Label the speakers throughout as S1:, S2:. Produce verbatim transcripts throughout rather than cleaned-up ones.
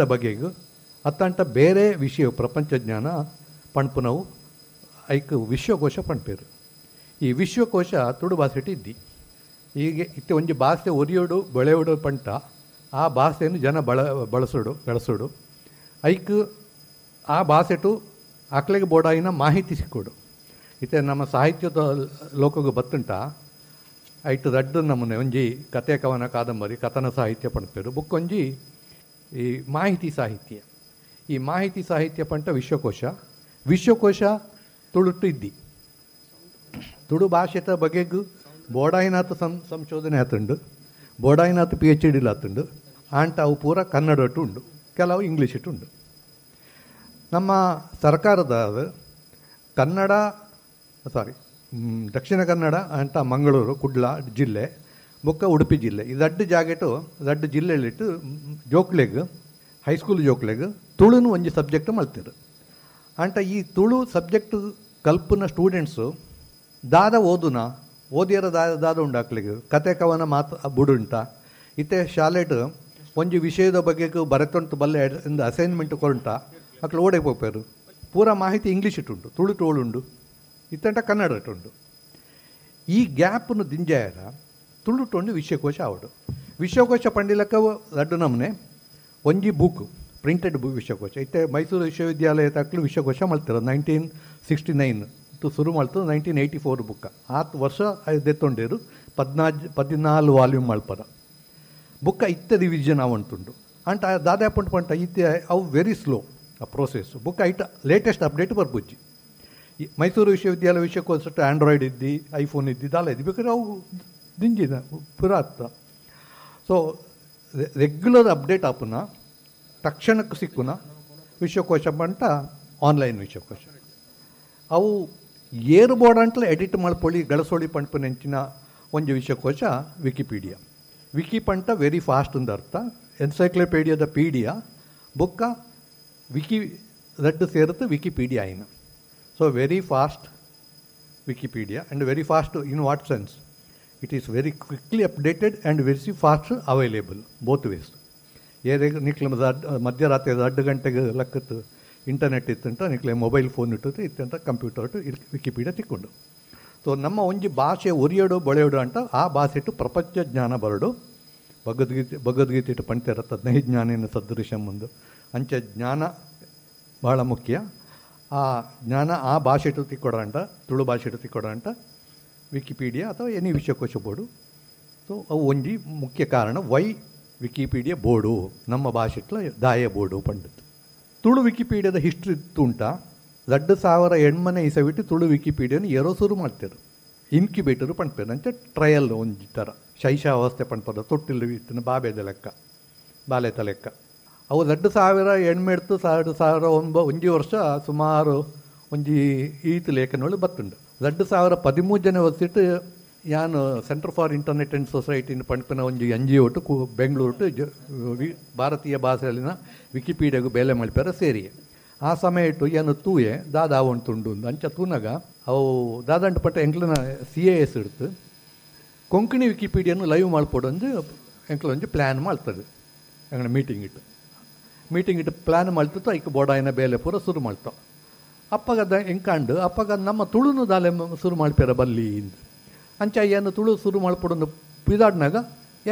S1: ಬಗೆಗ್ ಅತ್ತಂಟ ಬೇರೆ ವಿಷಯ ಪ್ರಪಂಚ ಜ್ಞಾನ ಪಣ್ಪುನವು ಐಕ್ ವಿಶ್ವಕೋಶ ಪಣ್ಪೇರು. ಈ ವಿಶ್ವಕೋಶ ತುಳು ಭಾಷೆಟ್ ಇದ್ದಿ. ಹೀಗೆ ಇತ್ತೆ ಒಂಜಿ ಭಾಷೆ ಒರಿಯೋಡು ಬೆಳೆಯೋಡು ಪಂಟ ಆ ಭಾಷೆಯನ್ನು ಜನ ಬಳ ಬಳಸೋಡು ಬೆಳೆಸೋಡು ಐಕ್ ಆ ಭಾಷೆಟು ಅಕ್ಲೆಗೆ ಬೋಡಾಯಿನ ಮಾಹಿತಿ ಸಿಕ್ಕೋಡು. ಇತ್ತೆ ನಮ್ಮ ಸಾಹಿತ್ಯದ ಲೋಕಗೆ ಬತ್ತುಂಟ ಐಟ್ ರಡ್ಡು ನಮೂನೆ, ಒಂಜಿ ಕತೆ ಕವನ ಕಾದಂಬರಿ ಕಥನ ಸಾಹಿತ್ಯ ಪಣ್ಪೇರು, ಬುಕ್ಕೊಂಜಿ ಈ ಮಾಹಿತಿ ಸಾಹಿತ್ಯ. ಈ ಮಾಹಿತಿ ಸಾಹಿತ್ಯ ಪಂಟ ವಿಶ್ವಕೋಶ. ವಿಶ್ವಕೋಶ ತುಳುಟು ಇದ್ದಿ. ತುಳು ಭಾಷೆತ ಬಗೆಗ್ ಬೋಡಾಯಿನಾಥ ಸಂ ಸಂಶೋಧನೆ ಆತುಂಡು, ಬೋಡಾಯಿನಾಥ ಪಿ ಎಚ್ ಡಿಲ್ ಆತುಂಡು, ಆಂಟ ಅವು ಪೂರ ಕನ್ನಡಟು ಉಂಡು, ಕೆಲವು ಇಂಗ್ಲೀಷಿಟ್ಟು ಉಂಡು. ನಮ್ಮ ಸರ್ಕಾರದ ಕನ್ನಡ ಸಾರಿ ದಕ್ಷಿಣ ಕನ್ನಡ ಅಂಟ ಮಂಗಳೂರು ಕುಡ್ಲ ಜಿಲ್ಲೆ ಬೊಕ್ಕ ಉಡುಪಿ ಜಿಲ್ಲೆ ಈ ದಡ್ಡ ಜಾಗೆಟು ದಡ್ಡ ಜಿಲ್ಲೆಲಿಟ್ಟು ಜೋಕ್ಲೆಗ್ ಹೈಸ್ಕೂಲ್ ಜೋಕ್ಲೆಗ್ ತುಳುನು ಒಂಜಿ ಸಬ್ಜೆಕ್ಟ್ ಮಲ್ತಿರು. ಅಂಟ ಈ ತುಳು ಸಬ್ಜೆಕ್ಟ್ ಕಲ್ಪುನ ಸ್ಟೂಡೆಂಟ್ಸು ದಾದ ಓದುನ ಓದಿಯರ ದಾದ ದಾದ ಉಂಡು ಅಕ್ಲೆಗ್ ಕತೆ ಕವನ ಮಾತು ಬುಡುಂಟ. ಇತ್ತೆ ಶಾಲೆಟ್ ಒಂಜಿ ವಿಷಯದ ಬಗ್ಗೆ ಬರೆತೊಂಟು ಬಲ್ಲೆ ಒಂದು ಅಸೈನ್ಮೆಂಟ್ ಕೊರುಂಟ ಅಕ್ಲು ಓಡೆ ಪೋಪೇರು. ಪೂರ ಮಾಹಿತಿ ಇಂಗ್ಲೀಷ್ ಇಟ್ಟುಂಟು, ತುಳು ಟೋಳುಂಡು, ಇತ್ತಂಟ ಕನ್ನಡ ಇಟ್ಟುಂಡು. ಈ ಗ್ಯಾಪ್ನು ದಿಂಜಾಯರ ತುಳುಟೊಂಡು ವಿಶ್ವಕೋಶ ಆವಡು. ವಿಶ್ವಕೋಶ ಪಂಡಿಲಕ್ಕ ರಡ್ಡು ನಮೂನೆ, ಒಂಜಿ ಬುಕ್ ಪ್ರಿಂಟೆಡ್ ಬುಕ್ ವಿಶ್ವಕೋಶ. ಇತ್ತೆ ಮೈಸೂರು ವಿಶ್ವವಿದ್ಯಾಲಯ ತಕ್ಲು ವಿಶ್ವಕೋಶ ಮಲ್ತಿರ ನೈನ್ಟೀನ್ ಸಿಕ್ಸ್ಟಿ ನೈನ್ ಶುರು ಮಾಡ್ತು, ನೈನ್ಟೀನ್ ಏಯ್ಟಿ ಫೋರ್ ಬುಕ್ಕ ಆತ್ ವರ್ಷ ದೆತ್ತೊಂಡೇರು ಪದ್ನಾಜ್ ಪದಿನಾಲು ವಾಲ್ಯೂಮ್ ಮಲ್ಪದ ಬುಕ್ಕ ಇತ್ತೆ ರಿವಿಷನ್ ಆವಂತುಂಡು. ಅಂಟ ದಾದಾಪುಂಟು ಪಂಟ ಇತ್ತೆ ಅವು ವೆರಿ ಸ್ಲೋ ಆ ಪ್ರೋಸೆಸ್. ಬುಕ್ಕ ಐಟ ಲೇಟೆಸ್ಟ್ ಅಪ್ಡೇಟ್ ಬರ್ಬುಜ್ಜಿ. ಮೈಸೂರು ವಿಶ್ವವಿದ್ಯಾಲಯ ವಿಶ್ವಕೋಶ ಆ್ಯಂಡ್ರಾಯ್ಡ್ ಇದ್ದಿ, ಐಫೋನ್ ಇದ್ದಿ, ದಾಲ ಇದ್ದಿ, ಬೇಕಾದ್ರೆ ಅವು ದಿಂಜಿನ ಪುರಾತ. ಸೊ ರೆಗ್ಯುಲರ್ ಅಪ್ಡೇಟ್ ಆಪುನ ತಕ್ಷಣಕ್ಕೆ ಸಿಕ್ಕುನ ವಿಶ್ವಕೋಶ ಪಂಟ ಆನ್ಲೈನ್ ವಿಶ್ವಕೋಶ. ಅವು ಏರು ಬೋರ್ಡ್ ಅಂತಲೇ ಎಡಿಟ್ ಮಾಡ್ಕೊಳ್ಳಿ ಗಳಸೋಳಿ ಪಂಪನೆಂಚಿನ ಒಂಜಿ ವಿಶ್ವಕೋಶ ವಿಕಿಪೀಡಿಯಾ. ವಿಕಿ ಪಂಟ ವೆರಿ ಫಾಸ್ಟ್ ಅಂದ ಅರ್ಥ, ಎನ್ಸೈಕ್ಲೋಪೀಡಿಯಾದ ಪೀಡಿಯಾ ಬುಕ್ಕ ವಿಕಿ ರಡ್ಡು ಸೇರುತ್ತೆ ವಿಕಿಪೀಡಿಯಾ ಐನ. So very fast Wikipedia and very fast in what sense? It is very quickly updated and very fast available both ways. ಏರೇ ನಿಕ್ಲೆ ಮಧ್ಯರಾತ್ರಿ ಎರಡು ಗಂಟೆಗೆ ಲಕ್ಕತ್ತು ಇಂಟರ್ನೆಟ್ ಇತ್ತಂತ ನಿಕ್ಲೆ ಮೊಬೈಲ್ ಫೋನ್ ಇಟ್ಟದ್ದು ಇತ್ತಂತ ಕಂಪ್ಯೂಟರ್ ಇಟ್ಟು ವಿಕಿಪೀಡಿಯಾ ತಿಕ್ಕೊಂಡು. ಸೊ ನಮ್ಮ ಒಂಜಿ ಭಾಷೆ ಒರಿಯೋಡು ಬಳೆಯೋಡು ಅಂತ ಆ ಭಾಷೆ ಇಟ್ಟು ಪ್ರಪಂಚ ಜ್ಞಾನ ಬರಡು. ಭಗವದ್ಗೀತೆ ಭಗವದ್ಗೀತೆ ಇಟ್ಟು ಪಂಚರ ತಜ್ಞ ಜ್ಞಾನೇನ ಸದೃಶಂ ಒಂದು ಅಂಚೆ ಜ್ಞಾನ ಭಾಳ ಮುಖ್ಯ. ಆ ಜ್ಞಾನ ಆ ಭಾಷೆ ಇಟ್ಟು ತಿಕ್ಕೊಡ ಅಂಟ, ತುಳು ಭಾಷೆ ಇಟ್ಟು ತಿಕ್ಕೊಡ ಅಂಟ ವಿಕಿಪೀಡಿಯಾ ಅಥವಾ ಎನಿ ವಿಶ್ವಕೋಶ ಬೋರ್ಡು. ಸೊ ಅವು ಒಂಜಿ ಮುಖ್ಯ ಕಾರಣ ವೈ ವಿಕಿಪೀಡಿಯಾ ಬೋರ್ಡು ನಮ್ಮ ಭಾಷೆಟ್ಲ ದಾಯ ಬೋರ್ಡು ಪಂಡಿತು. ತುಳು ವಿಕಿಪೀಡಿಯಾದ ಹಿಸ್ಟ್ರಿ ಉಂಟ. ಎರಡು ಸಾವಿರ ಎಣ್ಮನೆ ಇಸವಿಟ್ಟು ತುಳು ವಿಕಿಪೀಡಿಯಾನ ಏರೋ ಶುರು ಮಾಡ್ತಾರೆ. ಇನ್ಕ್ಯುಬೇಟರು ಪಂಡ್ಪೇರು ಅಂಚೆ ಟ್ರಯಲ್ ಒಂಜಿ ಥರ ಶೈಶಾವಸ್ಥೆ ಪಂಡ್ಪದ ತೊಟ್ಟಿಲು ಇತ್ತಿನ ಬಾಬೆದ ಲೆಕ್ಕ ಬಾಲೆತ ಲೆಕ್ಕ. ಅವು ಎರಡು ಸಾವಿರ ಎಣ್ಮೆಡ್ತು ಎರಡು ಸಾವಿರ ಒಂಬ ಒಂಜಿ ವರ್ಷ ಸುಮಾರು ಒಂಜಿ ಈತ್ ಲೇಖನಗಳು ಬತ್ತುಂಡು. ಎರಡು ಸಾವಿರ ಪದಿಮೂರು ಜನ ವರ್ಷಿಟ್ಟು ಯಾನು ಸೆಂಟರ್ ಫಾರ್ ಇಂಟರ್ನೆಟ್ ಆ್ಯಂಡ್ ಸೊಸೈಟಿನ ಪಂಪಿನ ಒಂಜಿ ಎನ್ ಜಿ ಒಟ್ಟು ಕು ಬೆಂಗಳೂರು ಟು ಜ ವಿ ಭಾರತೀಯ ಭಾಷೆಯಲ್ಲಿನ ವಿಕಿಪೀಡಿಯಾಗೂ ಬೇಲೆ ಮಲ್ಪೆರ ಸೇರಿ ಆ ಸಮಯ ಇಟ್ಟು ಏನು ತೂಯೆ ದಾದಾ ಉಂಟುಂಡು ಅಂಚ ತೂನಾಗ ಅವು ದಾದಂಟು ಪಟ್ಟ ಎಂಕ್ಲನ ಸಿ ಎ ಎಸ್ ಇಡ್ತು ಕೊಂಕಣಿ ವಿಕಿಪೀಡಿಯನ್ನು ಲೈವ್ ಮಾಡ್ಕೊಡು ಅಂದು ಎಂಕ್ಲ ಒಂಜಿ ಪ್ಲ್ಯಾನ್ ಮಾಡ್ತದೆ. ಎಂಗ್ಲ ಮೀಟಿಂಗ್ ಇಟ್ಟು ಮೀಟಿಂಗ್ ಇಟ್ಟು ಪ್ಲ್ಯಾನ್ ಮಾಡ್ತಿತ್ತು. ಐಕ್ ಬೋಡಾಯಿನ ಬೇಲೆ ಪೂರ ಶುರು ಮಾಡ್ತಾವೆ. ಅಪ್ಪಗ ಎಂಕಾಂಡು ಅಪ್ಪಗ ನಮ್ಮ ತುಳುನು ದಾಲೆ ಶುರು ಮಾಡ್ಪೇರ ಬಲ್ಲಿ ಅಂಚ ಏನು ತುಳು ಶುರು ಮಾಡ್ಕೊಡೋದು ಪಿದಾಡ್ನಾಗ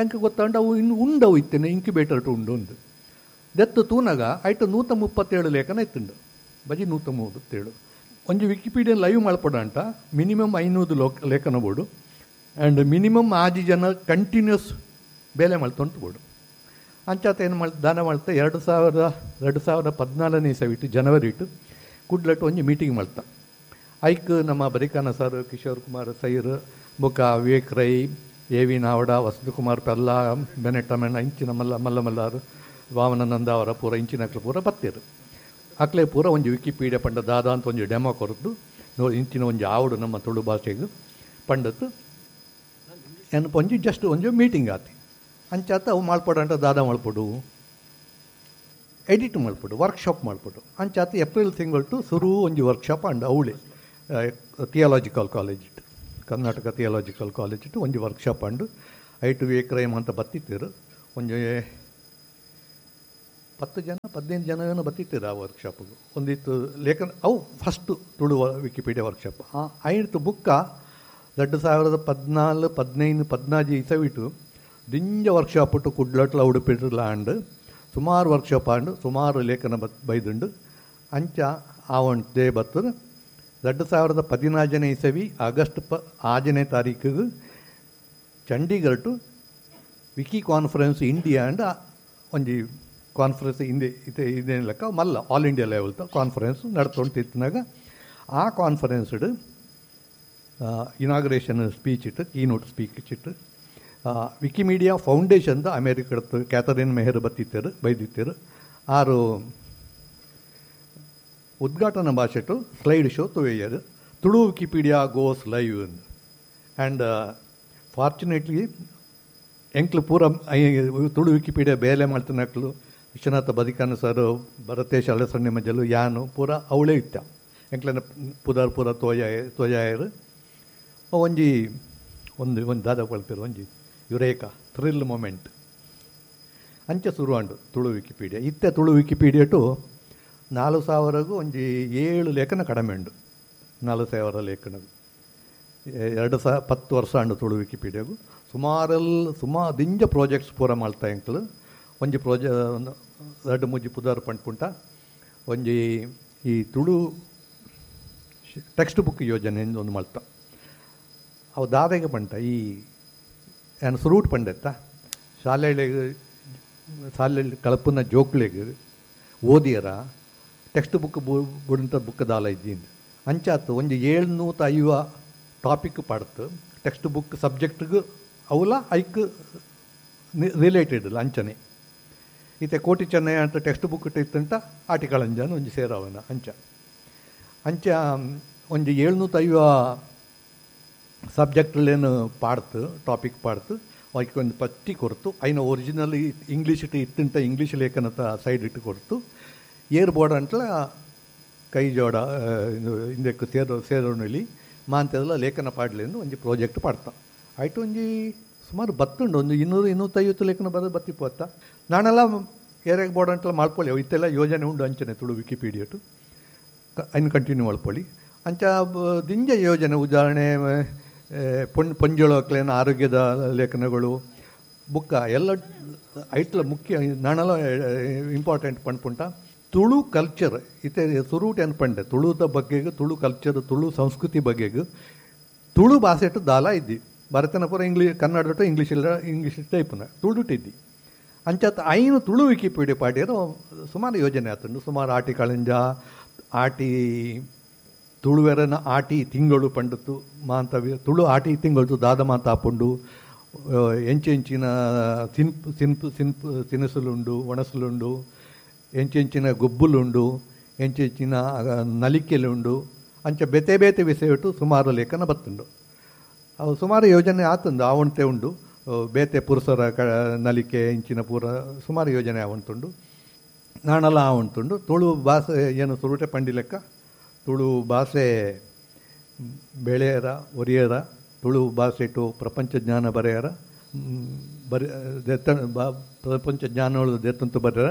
S1: ಎಂಕ ಗೊತ್ತಂಡು ಅವು ಇನ್ನು ಉಂಡವು ಇತ್ತೇನೆ ಇನ್ಕ್ಯುಬೇಟರ್ ಟು ಉಂಡು ಒಂದು ದೆತ್ತು ತೂನಾಗ ಐಟು ನೂತ ಮುಪ್ಪತ್ತೇಳು ಲೇಖನ ಇತ್ತುಂಡು ಬಜಿ ನೂತ ಮೂವತ್ತೇಳು. ಒಂಜಿ ವಿಕಿಪೀಡಿಯಾ ಲೈವ್ ಮಾಡ್ಕೊಡ ಅಂಟ ಮಿನಿಮಮ್ ಐನೂರು ಲೋಕ ಲೇಖನ ಬೋರ್ಡು ಆ್ಯಂಡ್ ಮಿನಿಮಮ್ ಆಜಿ ಜನ ಕಂಟಿನ್ಯೂಸ್ ಬೇಲೆ ಮಾಡ್ತೊಂಟು ಬೋರ್ಡು. ಅಂಚಾತ ಏನು ಮಾಡ್ ದಾನ ಮಾಡ್ತಾ ಎರಡು ಸಾವಿರದ ಎರಡು ಸಾವಿರದ ಪದ್ನಾಲ್ಕನೇ ಇಸವಿಟ್ಟು ಜನವರಿ ಇಟ್ಟು ಕುಡ್ಲಟ್ಟು ಒಂಜಿ ಮೀಟಿಂಗ್ ಮಾಡ್ತಾ. ಐಕ್ ನಮ್ಮ ಬರಿಕಾನ ಸರ್, ಕಿಶೋರ್ ಕುಮಾರ್ ಸೈರ್, ಬೊಕ್ಕ ವಿವೇಕ್ ರೈ, ಎ ವಿ ನಾವಡ, ವಸಂತಕುಮಾರ್ ಪೆಲ್ಲ, ಬೆನೆಟ್ಟಮೆಣ್ಣ ಇಂಚಿನ ಮಲ್ಲ ಮಲ್ಲ ಮಲ್ಲಾರು, ವಾಮನಂದ ಅವರ ಪೂರ ಇಂಚಿನ ಅಕ್ಲೆ ಪೂರ ಬತ್ತೀರು. ಅಕ್ಲೆ ಪೂರ ಒಂಜಿ ವಿಕಿಪೀಡಿಯಾ ಪಂಡ ದಾದ ಅಂತ ಒಂಜಿ ಡೆಮೋ ಕೊರದ್ದು ಇಂಚಿನ ಒಂಜಿ ಆವಡು ನಮ್ಮ ತುಳು ಭಾಷೆಗೆ ಪಂಡತ್ತು ಏನಪ್ಪ ಒಂಜಿ ಜಸ್ಟ್ ಒಂಜಿ ಮೀಟಿಂಗ್ ಆತಿ. ಅಂಚಾತ ಅವು ಮಾಡ್ಪಡು ದಾದ ಮಾಡ್ಪಡು ಎಡಿಟ್ ಮಾಡ್ಪಡು ವರ್ಕ್ಶಾಪ್ ಮಾಡ್ಪಡು ಅಂಚಾತ ಏಪ್ರಿಲ್ ತಿಂಗಳು ಶುರು ಒಂಜಿ ವರ್ಕ್ಶಾಪ್ ಅಂಡ್ ಅವಳೆ ಥಿಯಾಲಜಿಕಲ್ ಕಾಲೇಜ್ ಇಟ್ಟು ಕರ್ನಾಟಕ ಥಿಯಾಲಜಿಕಲ್ ಕಾಲೇಜ್ ಇಟ್ಟು ಒಂಜಿ ವರ್ಕ್ಶಾಪ್ ಅಂಡು ಐಟು ವಿವೇಕ್ ರೈ ಅಂತ ಬತ್ತಿತ್ತಿರು. ಒಂಜಿ ಪತ್ತು ಜನ ಪದಿನೈದು ಜನ ಏನೋ ಬತ್ತಿತ್ತಿರ ಆ ವರ್ಕ್ಶಾಪಿಗೆ. ಒಂದಿತ್ತು ಲೇಖನ ಅವು first Tulu Wikipedia workshop. ಆ ಐದು ಬುಕ್ಕ ಎರಡು ಸಾವಿರದ ಪದ್ನಾಲ್ಕು ಪದಿನೈದು ಪದ್ನಾಜಿ ಇಸವಿಟು ದಿಂಜ ವರ್ಕ್ಶಾಪ್ ಇಟ್ಟು ಕುಡ್ಲಟ್ಲ ಉಡುಪಿಟ್ಲ ಆಂಡ್ ಸುಮಾರು ವರ್ಕ್ಶಾಪ್ ಆಂಡು ಸುಮಾರು ಲೇಖನ ಬತ್ ಬೈದುಂಡು. ಅಂಚ ಆವೊಂಟೇ ಬತ್ತದ ಎರಡು ಸಾವಿರದ ಪದಿನಾಜನೇ ಇಸವಿ ಆಗಸ್ಟ್ ಪ ಆಜನೇ ತಾರೀಕಿಗೆ Chandigarh to wiki conference India and ಒಂಜಿ ಕಾನ್ಫರೆನ್ಸ್ ಹಿಂದೆ ಇತ್ತೆ ಇದೇನು ಲೆಕ್ಕ ಮಲ್ಲ all India level conference ನಡ್ತೊಂಟಿತ್ತಿನಾಗ ಆ ಕಾನ್ಫರೆನ್ಸ್ಡ್ ಇನಾಗ್ರೇಷನ್ ಸ್ಪೀಚ್ ಇಟ್ಟು ಕೀನೋಟ್ ಸ್ಪೀಚ್ ಇಟ್ಟು ವಿಕಿಮೀಡಿಯಾ ಫೌಂಡೇಶನ್ದ ಅಮೇರಿಕದ ಕ್ಯಾಥರಿನ್ ಮೆಹರ್ ಬತ್ತಿತ್ತರು ಬೈದಿತ್ತರು. ಆರು ಉದ್ಘಾಟನಾ ಭಾಷೆಟು ಸ್ಲೈಡ್ ಶೋ ತುವೆಯರು Tulu Wikipedia goes live and fortunately ಎಂಕ್ಲು ಪೂರ ತುಳು ವಿಕಿಪೀಡಿಯಾ ಬೇಲೆ ಮಾಡ್ತಿನಕ್ಲು ವಿಶ್ವನಾಥ ಬದಿಕಾನ ಸರ್, ಭರತೇಶ್ ಅಲಸಣ್ಣೆ ಮಜಲು, ಯಾನು ಪೂರ ಅವಳೇ ಇತ್ತ ಎಂಕ್ಲನ ಪುದಾರ್ ಪೂರ ತೋಯ ತೋಯಾಯರು. ಒಂಜಿ ಒಂದು ಒಂದು ದಾದ ಕೊಳ್ತಿರು ಒಂಜಿ Eureka thrill moment ಅಂಚೆ ಶುರು ತುಳು ವಿಕಿಪೀಡಿಯಾ. ಇತ್ತೆ ತುಳು ವಿಕಿಪೀಡಿಯಾ ಟು ನಾಲ್ಕು ಸಾವಿರಗೂ ಒಂಜಿ ಏಳು ಲೇಖನ ಕಡಿಮೆ ಉಂಡು. ನಾಲ್ಕು ಸಾವಿರ ಲೇಖನ ಎರಡು ಸಹ ಪತ್ತು ವರ್ಷ ಅಂಡು ತುಳು ವಿಕಿಪೀಡಿಯಾಗು ಸುಮಾರಲ್ಲಿ ಸುಮಾ ದಿಂಜ ಪ್ರಾಜೆಕ್ಟ್ಸ್ ಪೂರ ಮಾಡ್ತಾ ಎಂಕ್ಲು. ಒಂಜಿ ಪ್ರಾಜೆ ಎರಡು ಮೂಜಿ ಪುದಾರ್ ಪಂಡ್ಪುಂಟ ಒಂಜಿ ಈ ತುಳು ಟೆಕ್ಸ್ಟ್ ಬುಕ್ ಯೋಜನೆ ಒಂದು ಮಲ್ತ ಅವು ದಾದೆಗೆ ಪಂಟ ಈ ಏನು ಸುರೂಟ್ ಪಂಡೆತ್ತ ಶಾಲೆಗಳಿಗೆ ಶಾಲೆಯಲ್ಲಿ ಕಳಪುನ ಜೋಕ್ಲೆಗ್ ಓದಿಯರ ಟೆಕ್ಸ್ಟ್ ಬುಕ್ ಬುಡಂತ ಬುಕ್ ದಾಲ ಇದ್ದೀನಿ ಅಂಚಾತು ಒಂಜಿ ಏಳ್ನೂತ ಐವ ಟಾಪಿಕ್ ಪಾಡ್ತು ಟೆಕ್ಸ್ಟ್ ಬುಕ್ ಸಬ್ಜೆಕ್ಟ್ಗೆ ಅವಲ ಐಕ್ ರಿಲೇಟೆಡ್ ಅಂಚನೆ ಈತೆ ಕೋಟಿ ಚೆನ್ನಯ್ಯ ಅಂತ ಟೆಕ್ಸ್ಟ್ ಬುಕ್ ಇತ್ತಂಟ ಆಟಿಕಲ್ ಅಂಜಾನು ಒಂಜಿ ಸೇರವನ ಅಂಚ ಅಂಚ ಒಂಜಿ ಏಳ್ನೂತ ಐವ ಸಬ್ಜೆಕ್ಟ್ಲೇನು ಪಾಡ್ತು ಟಾಪಿಕ್ ಪಾಡ್ತು ಅವಕ್ಕೆ ಒಂದು ಪಟ್ಟಿ ಕೊಡ್ತು ಐನ ಒರಿಜಿನಲ್ ಇಂಗ್ಲೀಷ್ ಇಟ್ಟು ಇತ್ತಂಟ ಇಂಗ್ಲೀಷ್ ಲೇಖನತ ಸೈಡ್ ಇಟ್ಟು ಕೊಡ್ತು ಏರ್ ಬೋರ್ಡ್ ಅಂಟ್ಲ ಕೈ ಜೋಡ ಹಿಂದಕ್ಕೆ ಸೇರೋ ಸೇರೋಣಲಿ ಮಾಂತೆಲ್ಲ ಲೇಖನ ಪಾಡಲಿ ಎಂದು ಒಂಜಿ ಪ್ರಾಜೆಕ್ಟ್ ಪಾಡ್ತಾ ಆಯ್ತು. ಒಂಜಿ ಸುಮಾರು ಬತ್ತುಂಡು ಒಂದು ಇನ್ನೂರು ಇನ್ನೂತ್ತೈವತ್ತು ಲೇಖನ ಬರೋದು ಬತ್ತಿಪ್ಪತ್ತ ನಾನೆಲ್ಲ ಏರಿಯಾಗೆ ಬೋರ್ಡ್ ಅಂತೆಲ್ಲ ಮಾಡ್ಕೊಳ್ಳಿ ಇತ್ತೆಲ್ಲ ಯೋಜನೆ ಉಂಡು ಅಂಚನೆ ತುಳು ವಿಕಿಪೀಡಿಯಟು ಐನು ಕಂಟಿನ್ಯೂ ಮಾಡ್ಕೊಳ್ಳಿ ಅಂಚ ದಿಂಜ ಯೋಜನೆ ಉದಾಹರಣೆ ಪೊಣ್ ಪೊಂಜೊಳಕ್ಲೇನ ಆರೋಗ್ಯದ ಲೇಖನಗಳು ಬುಕ್ಕ ಎಲ್ಲ ಐಟ್ಲ ಮುಖ್ಯ ನಾನೆಲ್ಲ ಇಂಪಾರ್ಟೆಂಟ್ ಪಂಡ್ಪುಂಟ ತುಳು ಕಲ್ಚರ್ ಇತ್ತೆ ಸುರೂಟ್ ಏನು ಪಂಡೆ ತುಳುದ ಬಗ್ಗೆಗೆ ತುಳು ಕಲ್ಚರ್ ತುಳು ಸಂಸ್ಕೃತಿ ಬಗ್ಗೆಗೆ ತುಳು ಭಾಷೆಟು ದಾಲ ಇದ್ದಿ ಭರತನ ಪೂರ ಇಂಗ್ಲೀಷ್ ಕನ್ನಡ ಇಂಗ್ಲೀಷ್ ಇಲ್ಲ ಇಂಗ್ಲೀಷ್ ಟೈಪ್ನ ತುಳುಟು ಇದ್ದಿ ಅಂಚಾತ ಐನು ತುಳು ವಿಕಿಪೀಡಿಯಾ ಪಾಡ್ಯರು ಸುಮಾರು ಯೋಜನೆ ಆತುಂಡು. ಸುಮಾರು ಆಟಿ ಕಳಂಜ ಆಟಿ ತುಳುವೆರನ ಆಟಿ ತಿಂಗಳು ಪಂಡತು ಮಾಂತ ತುಳು ಆಟಿ ತಿಂಗಳು ದಾದ ಮಾತ ಆಪುಂಡು ಎಂಚೆಂಚಿನ ಸಿನ್ಪು ಸಿನ್ಪು ಸಿನ್ಪು ತಿನಿಸುಲುಂಡು ಒಣಸುಲುಂಡು ಎಂಚೆಂಚಿನ ಗೊಬ್ಬುಲುಂಡು ಎಂಚೆಂಚಿನ ನಲಿಕೆಲುಂಡು ಅಂಚ ಬೇತೆ ಬೇತೆ ವಿಷಯಟ್ಟು ಸುಮಾರು ಲೇಖನ ಬತ್ತುಂಡು. ಅವು ಸುಮಾರು ಯೋಜನೆ ಆತುಂಡು ಆವಣತೆ ಉಂಡು ಬೇತೆ ಪುರುಷರ ಕ ನಲಿಕೆ ಇಂಚಿನ ಪೂರ ಸುಮಾರು ಯೋಜನೆ ಆವಂತುಂಡು ನಾನೆಲ್ಲ ಆವಂತುಂಡು. ತುಳು ಭಾಷೆ ಏನು ಸುರುಟೆ ಪಂಡಿ ಲೆಕ್ಕ ತುಳು ಭಾಷೆ ಬೆಳೆಯರ ಒರಿಯರ ತುಳು ಭಾಷೆಟು ಪ್ರಪಂಚ ಜ್ಞಾನ ಬರೆಯರ ಬರೆ ದೆತ್ತ ಬಾ ಪ್ರಪಂಚ ಜ್ಞಾನಗಳು ದೆತ್ತಂತು ಬರೆಯರ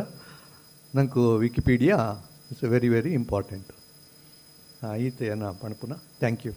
S1: ನಂಗೆ Wikipedia it's very very important. ಈತ ಏನ ಪಣಪುನ. Thank you.